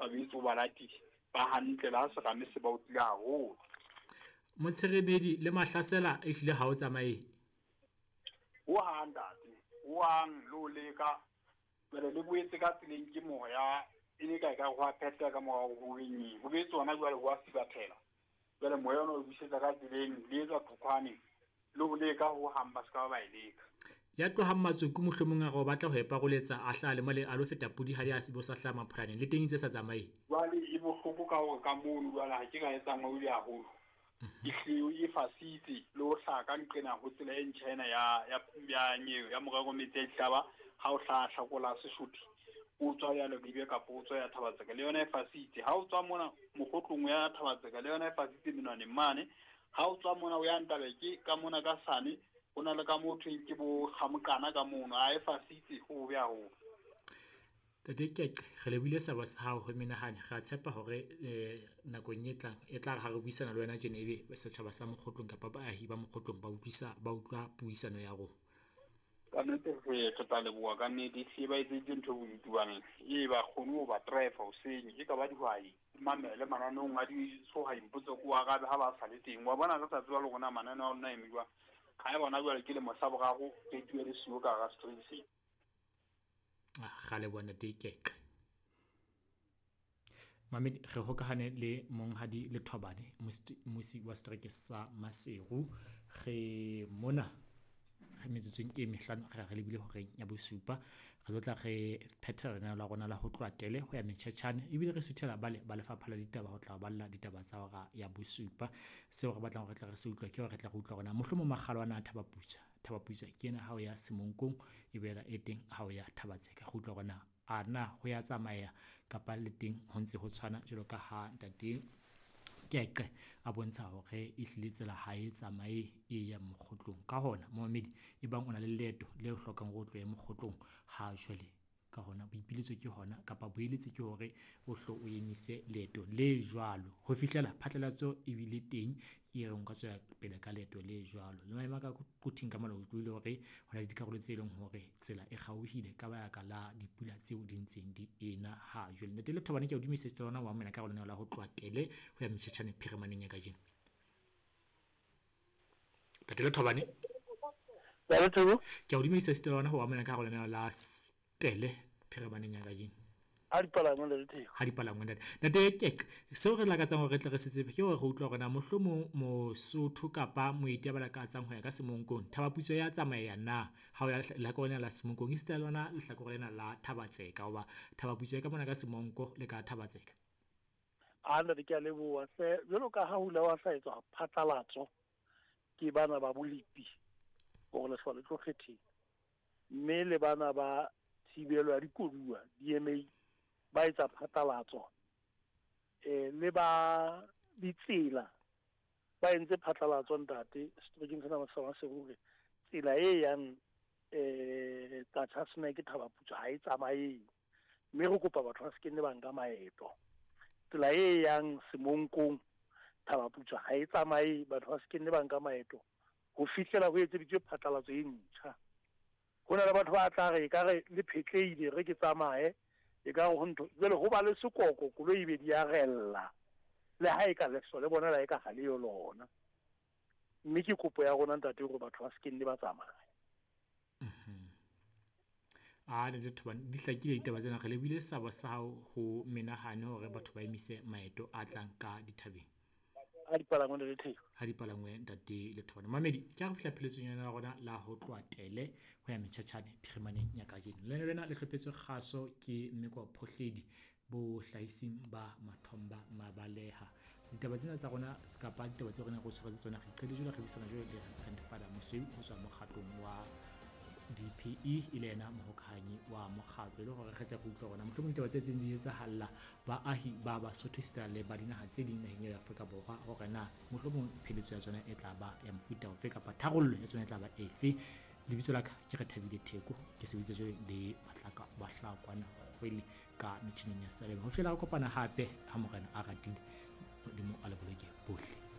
Ba boetse o ba latile ba hantle le ha serame se ba otlile haholo. Motsherebedi le Mahlasela ehlile ha o tsamaye. Ho hang ntate, ho hang le ho leka. Jwale le boetse ka tseleng ke moya e le ka ekare ho a phehleha ka mora hore ho be nyeng. Ho boetse hona jwale ho a sibathela. Jwale moya ona o busetsa ka tseleng le etsa thokhwane le ho leka ho hang ba se ka ba ba e leka. Ya tlohang Matsoku mohlomong a re o batla ho e paroletsa a hlaha le mole a lo feta Pudihadi a se bo sa hlaha Mapholaneng le teng e ntse e sa tsamaye. Jwale e bohloko ka hore ka mono jwale ha ke ka e tsamaya o ile haholo. E hlile e fasitse le ho hlaha ka nqena ho tsela e ntjha ena ya ya ya nyeo ya morero metsi a dihlaba ha o hlaha hlakola Sesotho o tswa ya Leribe kapa o tswa ya Thabatseka le yona e fasitse. Ha o tswa mona mokgotlong ya Thabatseka le yona e fasitse menwaneng mane. Ha o tswa mona o ya Ntabeke ka mona ka sane ho na le ka mo thweng ke bo Kgamoqana ka mono a e fasitse ho bobe haholo. Ntate Keqe, re lebohile seabo sa hao ho menahane. Re a tshepa hore nakong e tlang e tla re ha re buisana le wena tjena ebe setjhaba sa Mokgotlong kapa baahi ba Mokgotlong ba utlwisa ba utlwa puisano ya rona. Ka nnete re re tla leboha ka nnete ehlile ba etseditse ntho e bodutu baneng ee ba kgone ho ba driver hoseng e ka ba dihwai mamele mananeong a di mpotse ko arabe ha ba sa le teng wa bona re sa tseba le rona mananeo a lona a eme jwang ha e bona jwale ke lemo sa boraro radio e le siyo ka hara stream se. Ga leboha ntate Keqe. Mamedi re hokahane le monghadi Lethobane mmusi wa setereke sa Maseru. Re mona re metsotsong e mehlano re re lebile horeng ya bosupa. Re tlo tla re phethela lenaneo la rona la ho tloha tele ho ya metjhetjhane ebile re suthela bale ba lefapha la ditaba ho tla balla ditaba tsa hora ya bosupa. Seo re batlang hore re tle re se utlwe ke hore re tle re utlwe hore na mohlomong makgalo ana a Thabaputswa. Thabaputswa ke ena ha o ya Semonkong e boela e teng ha o ya Thabatseka. Re utlwe hore na a na ho ya tsamaya kapa le teng ho ntse ho tshwana jwalo ka ha ntate Keqe a bontsha hore ehlile tsela ha e tsamaye e yang Mokgotlong. Ka hona momamedi e bang o na le leeto le hlokang hore o tlohe Mokgotlong ha jwale ka hona boipiletso ke hona kapa boeletsi ke hore o hlo o emise leeto le jwalo ho fihlela phatlalatso e bile teng e reng o ka tswela pele ka leeto le jwalo. Le maemo a ka Quthing ka mona o utlwile hore ho na le dikarolo tse leng hore tsela e kgaohile ka baka la dipula tseo di ntseng di ena ha jwale. Ntate Lethobane ke a o dumedisa esita lona wa amohela ka hare ho lenaneo la ho tloha tele ho ya metjhetjhane phirimaneng ya kajeno. Ntate Lethobane. Ke a o dumedisa esita lona ho amohela ka hare ho lenaneo la tele phirimaneng ya kajeno. Ha dipalangwe le Theko. Ha dipalangwe ntate. Ntate Keqe, seo re lakatsang hore re tle re se tsebe ke hore re utlwa hore na mohlomong Mosotho kapa moeti a ba lakatsang ho ya ka Semonkong, Thabaputswa ya tsamaya na ha o ya lehlakore lena la Semonkong esita le lona lehlakore lena la Thabatseka hoba Thabaputswa e ka mona ka Semonko le ka Thabatseka. A ntate ke a leboha hle jwalo ka ha ho ile wa sa etswa phatlalatso ke bana ba bolepi hore lehlwa le tlo kgetheng mme le bana ba thibelo ya dikoduwa DMA ba etsa phatlalatso le ba ditsela ba entse phatlalatso ntate seterekeng sena sa Maseru hore tsela e yang Qacha's Nek Thabaputswa ha e tsamaye mme re kopa batho ba se ke nne ba nka maeto. Tsela e yang Semonkong Thabaputswa ha e tsamaye batho ba se ke nne ba nka maeto ho fihlela ho etseditswe phatlalatso e ntjha. Ho na le batho ba tla re ekare le phetlehile re ke tsamaye ekare ho ntho jwale ho ba le sekoko koloi e be di a rella le ha e ka leso le bona la e ka ha le yo lona mme ke kopo ya rona ntate hore batho ba se ke nne ba tsamaya. A le Thobane di hlakile ditaba tsena re lebile sabo sa hao ho menahane hore batho ba emise maeto a tlang ka dithabeng. Ha dipalangwe le Theko. Ha dipalangwe ntate Lethobane. Mamedi ke ha re fihla pheletsong yona ya rona la ho tloha tele ho ya metjhetjhane phirimaneng ya kajeno. Lena lena le hlophetswe kgaso ke Mmeko Phohledi bo hlahising ba Mathomba Mabaleha. Ditaba tsena tsa rona kapa ditaba tseo re neng re tshwaretse tsona re qetile jwale re buisana jwale le Reverend Father Mosweu ho tswa mokgatlong wa DPE e le yena mohokahanyi wa mokgatlo e le hore re tle re utlwe hore na mohlomong ditaba tse tseng di etsahalla baahi ba Basotho esita le ba dinaha tse ding naheng ya Afrika Borwa hore na mohlomong pheletso ya tsona e tla ba ya mofuta ofe kapa tharollo ya tsona e tla ba efe. Lebitso la ka ke Rethabile Theko, ke sebeditse jwale le Bahlaka Bahlakwana Kgwele ka metjhineng ya Salem. Ho fihlela re kopana hape ha Morena a ratile, Modimo a le boloke bohle.